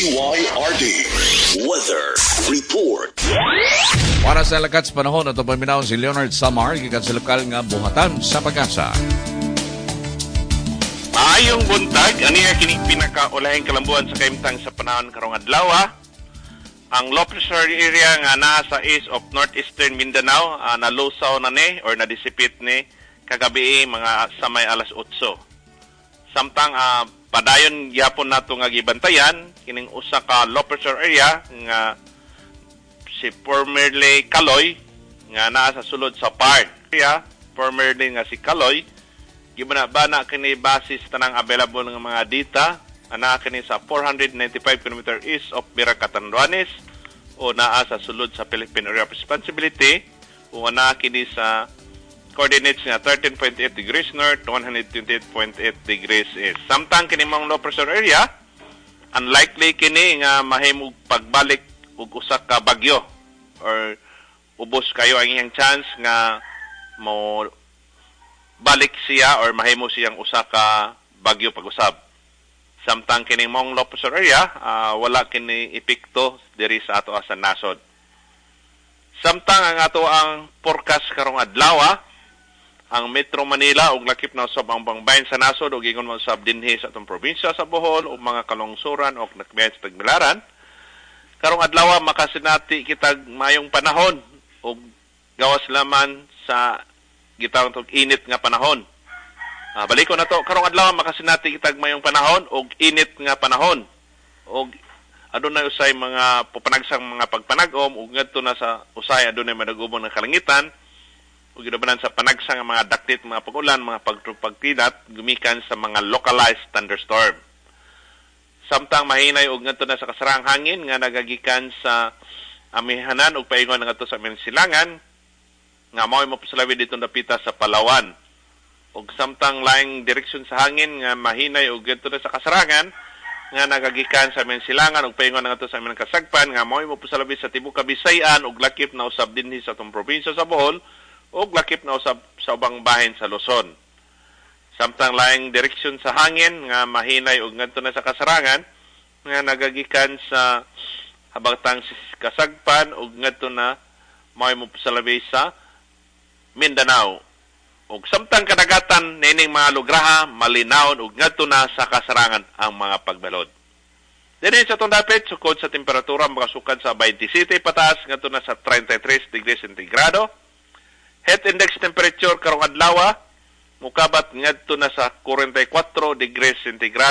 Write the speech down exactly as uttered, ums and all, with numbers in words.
D Y R D Weather Report. Para sa lakat sa panahon, ato paminawon si Leonard Samar, gikan sa lokal nga buhatan sa PAGASA. Maayong buntag, aniya kini pinakaulahing kalambuan sa kahimtang sa panahon karong adlaw. Ang low pressure area nga naa sa east of northeastern Mindanao uh, nalusaw na ni or na-dissipate ni kagabi mga sa may alas otso. Samtang uh, padayon gyapon nato nga gibantayan kining usa ka low pressure area nga si formerly Kaloy nga naa sa sulod sa park. Area formerly nga si Kaloy, gibana-bana kini basis tanang available nga mga data, ana kini sa four hundred ninety-five kilometers east of Virac, Catanduanes o naa sa sulod sa Philippine Area of Responsibility o ana kini sa coordinates nga thirteen point eight degrees north, one hundred twenty-eight point eight degrees east. Samtang kini mong low pressure area, unlikely kini nga mahimog pagbalik og usa ka bagyo or ubos kayo ang iyang chance nga mo balik siya or mahimo siyang usa ka bagyo pag-usab. Samtang kining mong low pressure area, uh, wala kini epekto diri sa ato sa nasod. Samtang ang ato ang forecast karong adlaw, ang Metro Manila ug lakip na usab ang bangbayin sa nasod ug ingon man usab dinhi sa atong probinsya sa Bohol ug mga kalungsuran ug nakbiyan sa Tagbilaran. Karong adlaw, makasinati kitag mayong panahon ug gawas laman sa gitawag tog init nga panahon. Uh, balik ko na to, karong adlaw makasinati kitag mayong panahon ug init nga panahon. Ug adunay usay mga pupanagsang mga pagpanag-om ug ngadto na sa usay adunay madagubong ng kalangitan ug gidabanan sa panagsang nga mga daktit, mga pag-ulan, mga pagtupagkinat gumikan sa mga localized thunderstorm. Samtang mahinay og ngadto na sa kasarang hangin nga nagagikan sa amihanan ug paingon ngadto sa aming silangan nga mao'y mapasalawi dito dapita sa Palawan. Ug samtang laing direksyon sa hangin nga mahinay ug ngadto na sa kasarangan nga nagagikan sa aming silangan ug paingon ngadto sa aming kasagpan nga mao'y mapasalawi sa tibuok Kabisayan ug lakip na usab dinhi sa atong probinsya sa Bohol ug lakip na usab sa ubang bahin sa Luzon. Samtang laing direksyon sa hangin nga mahinay ug ngadto na sa kasarangan nga nagagikan sa habatang kasagpan ug ngadto na mao'y mopasalabi sa Mindanao. Ug samtang kadagatan nining mga lugraha malinawon ug ngadto na sa kasarangan ang mga pagbalod. Dinhi sa atong dapit, sukod sa temperatura makasukad sa twenty-seven pataas ngadto na sa thirty-three degrees centigrado. Heat index temperature karong adlaw mukabat ngadto na sa forty-four degrees centigrado.